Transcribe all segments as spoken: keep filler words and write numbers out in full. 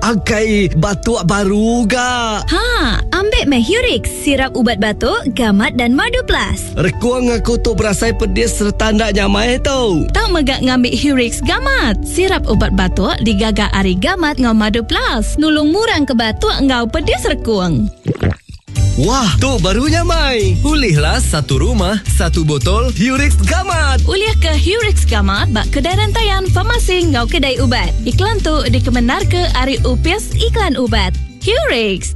Angkai batuk baru ga. Ha, ambil meh Hurix, sirap ubat batuk, gamat dan madu plus. Rekuang aku tu berasai pedis serta ndak nyamai tu. Tau megak ngambil Hurix gamat. Sirap ubat batuk digaga ari gamat ngau madu plus. Nulung murang ke batuk ngau pedis rekuang. Wah, tu baru nyamai. Ulihlah satu rumah, satu botol Hurix Gamat. Ulih ke Hurix Gamat bak kedai rantaian farmasi ngau kedai ubat. Iklan tu dikemenar ke ari Upis Iklan Ubat. Hurix.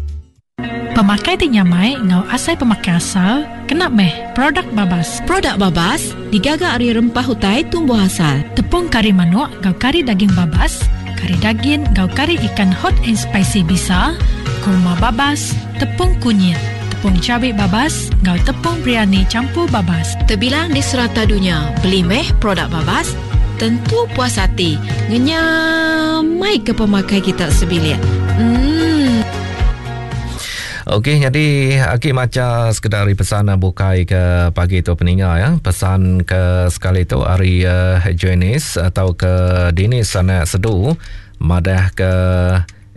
Pemakai ti nyamai ngau asai pemakai asal, kena meh produk babas. Produk babas digaga ari rempah utai tumbuh asal. Tepung kari manuk ngau kari daging babas, kari daging ngau kari ikan hot and spicy bisa, kurma babas, tepung kunyit, tepung cabai babas, ngau tepung biryani campur babas. Terbilang di serata dunia, beli meh produk babas, tentu puas hati. Ngenyamai ke pemakai kita sebilik. Hmm. Okey, jadi aki maca sekedar pesan bukai ke pagi tu peninga ya. Pesan ke sekali tu hari uh, Janice atau ke Dinis anak sedu madah ke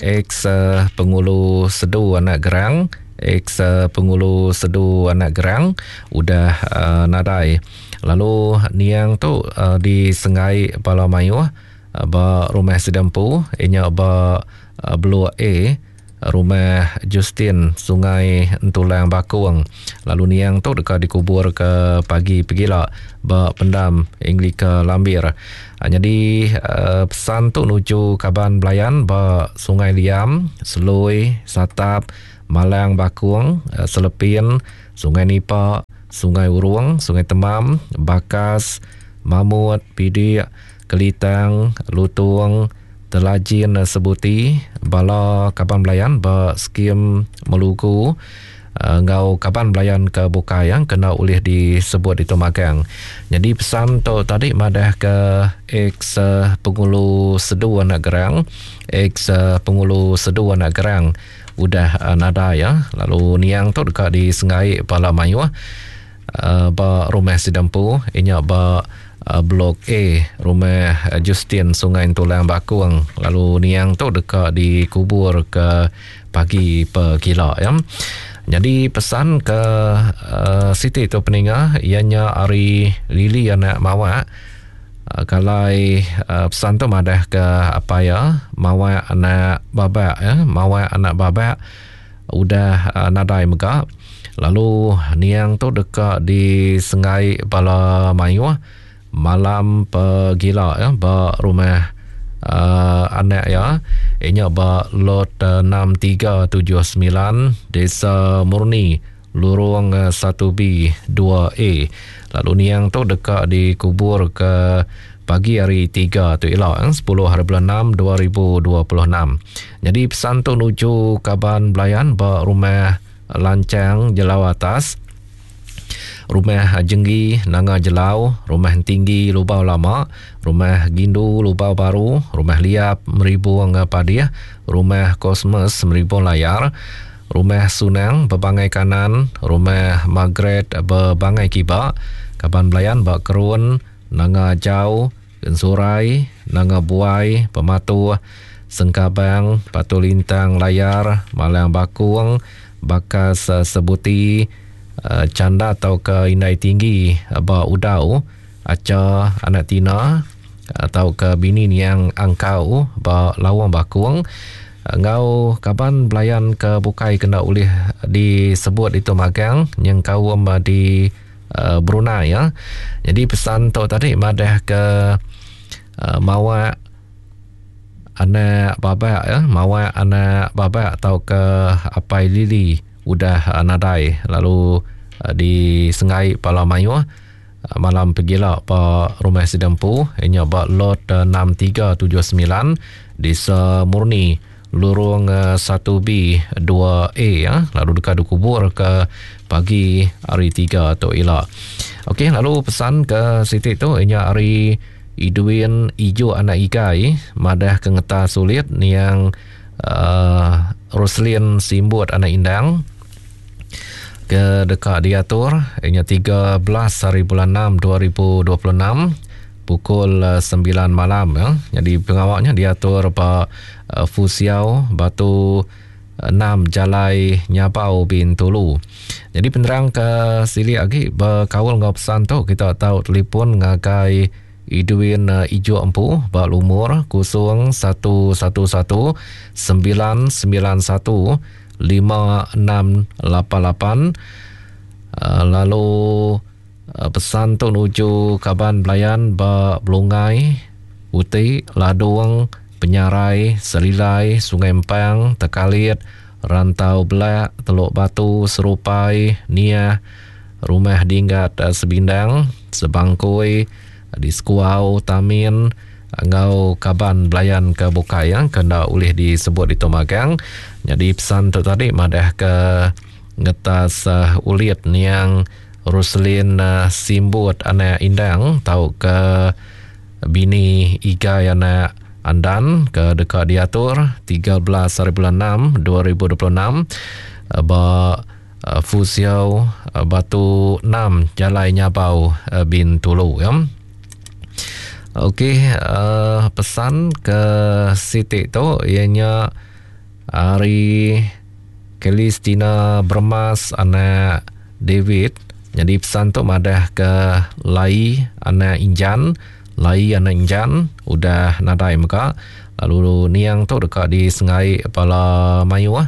ex uh, pengulu sedu anak gerang, ex uh, pengulu sedu anak gerang udah uh, nadai. Lalu niang tu uh, di Sengai Pala Mayuh uh, ba rumah Sedempu inya ba uh, Blok A rumah Justin Sungai Entulang Bakung. Lalu niang tu dekat dikubur ke pagi pegila ba pendam Anglika Lambir. Ha, jadi uh, pesan tu nuju kaban belayan ba Sungai Liam, Selui, Satap, Malang Bakung, uh, Selepin, Sungai Nipa, Sungai Urung, Sungai Temam, Bakas, Mamut, Pidik, Kelitang, Lutung, Telajin Sebuti, bala kaban belayan ba skim Melugu, ngau kaban belayan ke bukai yang kena ulih disebut itu magang. Jadi pesan tu tadi madah ke ex pengulu sedu anak gerang, ex pengulu sedu anak gerang udah nada ya. Lalu niang tu dekat di Sengai Pala Mayuh ba rumah Sidampu inya ba Blok A rumah Justin Sungai Tulang Bakung. Lalu niang tu dekat dikubur ke pagi pegila ya. Jadi pesan ke uh, Siti tu peninga ianya ari Lili anak Mawak. Uh, kalai uh, pesan tu madah ke apa ya, Mawak anak babak ya, Mawak anak babak udah uh, nadai mega. Lalu niang tu dekat di Sengai Pala Mayuh malam pegila ya ba rumah uh, anak ya inya ba lot uh, enam tiga tujuh sembilan Desa Murni Lurung uh, satu B dua A. Lalu niang tu dekat dikubur ke pagi hari tiga tu elok eh, sepuluh hari bulan enam dua ribu dua puluh enam. Jadi pesan tu nuju kaban belayan ba rumah Lancang Jelau Atas, rumah Jenggi Nanga Jelau, rumah Tinggi Lubau Lama, rumah Gindu Lubau Baru, rumah Liap Meribung Padiah, rumah Kosmos Meribung Layar, rumah Sunang Bebangai Kanan, rumah Margaret Bebangai Kiba, kaban belayan bak Kerun, Nanga Jau, Gensurai, Nanga Buai, Pematuh, Sengkabang, Batu Lintang Layar, Malang Bakung, Bakas Sebuti, Canda atau ke Indai Tinggi ba Udau, Aca anak Tina atau ke bini niang Angkau ba Lawang Bakung, ngau kaban belayan ke bukai kena ulih disebut itu magang yang kaum di uh, Brunei ya. Jadi pesan tu tadi madah ke uh, Mawak anak babak ya, Mawak anak babak atau ke Apai Lili udah uh, nadai. Lalu uh, di Sengai Pala Mayuh uh, malam pegila ba rumah Sidampu inya ba lot uh, enam tiga tujuh sembilan Desa Murni Lurung uh, satu B dua A ya. Lalu dekat dikubur ke pagi hari tiga tu elok. Okey, lalu pesan ke Siti tu inya hari Idwin Ijo anak Igai madah ke ngeta sulit niang uh, Roslin Simbut anak Indang ke dekat diatur inya tiga belas hari bulan enam dua ribu dua puluh enam pukul sembilan malam ya. Jadi pengawaknya diatur ba uh, Fusiau Batu enam Jalai Nyabau Bintulu. Jadi penerang ke sili lagi berkaul ngau pesan tu kita tahu telefon ngagai Idwin uh, Ijo Empu ba lumur kosong satu satu satu sembilan sembilan satu lima enam lapan lapan. Uh, lalu uh, pesan tu nuju kaban belayan ba Belungai, Uti, Ladung, Penyarai, Selilai, Sungai Empang, Tekalit, Rantau Belak, Teluk Batu, Serupai, Niah, Rumah Dinggat Sebindang, Sebangkui, di Sekuau, Tamin, ngau kaban belayan ke bukai yang kena ulih disebut di Tomagang. Jadi pesan tu tadi madah ke ngetas uh, ulit niang Roslin uh, Simbut anak Indang tau ke bini Igai anak Andan ke dekat diatur tiga belas hari bulan enam dua ribu dua puluh enam ba Fusiau Batu enam Jalai Nyabau Bintulu ya. Okey, uh, pesan ke Siti tu ianya hari Kelistina Bermas anak David. Jadi pesan tu madah ke Lai anak Injan, Lai anak Injan udah nadai mega. Lalu niang tu dekat di Sengai Pala Mayu ah.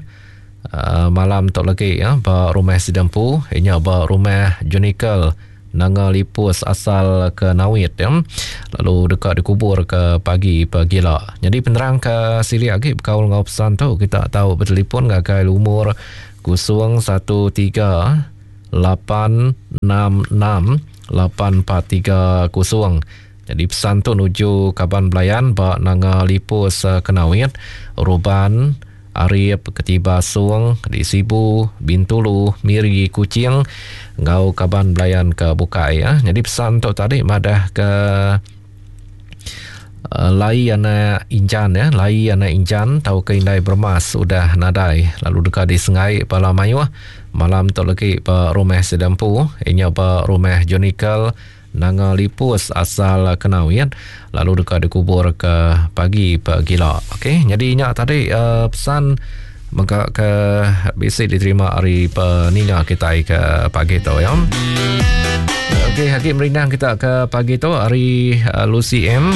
Uh, malam tu lagi ya ba rumah Sidempu, inya ba rumah Junikel Nanga Lipus asal ke Nawit ya. Lalu dekat dikubur ke pagi pagila. Jadi penerang ke sili lagi berkaul ngau pesan tu kita tahu bertelefon ngagai lumur kosong satu tiga lapan enam enam lapan empat tiga kosong. Jadi pesan tu nuju kaban belayan ba Nanga Lipus Kenawit, Ruban, Arif, Ketiba Sung, di Sibu, Bintulu, Miri, Kuching, ngau kaban belayan ke Bukai ya. Jadi pesan tu tadi madah ke uh, Lai anak Injan ya, Lai anak Injan tau ke Indai Bermas udah nadai. Lalu dekat di Sengai Pala Mayuh malam tu lagi ba rumah Sedampu, inya ba rumah Jonikel Nanga Lipus asal Kenawit, lalu dekat dikubur ke pagi pagila. Okey, jadi nya tadi uh, pesan mega ke bisi diterima hari peninga kita ke pagi tu ya. Okey, hakik merindang kita ke pagi tu hari uh, Lucy M.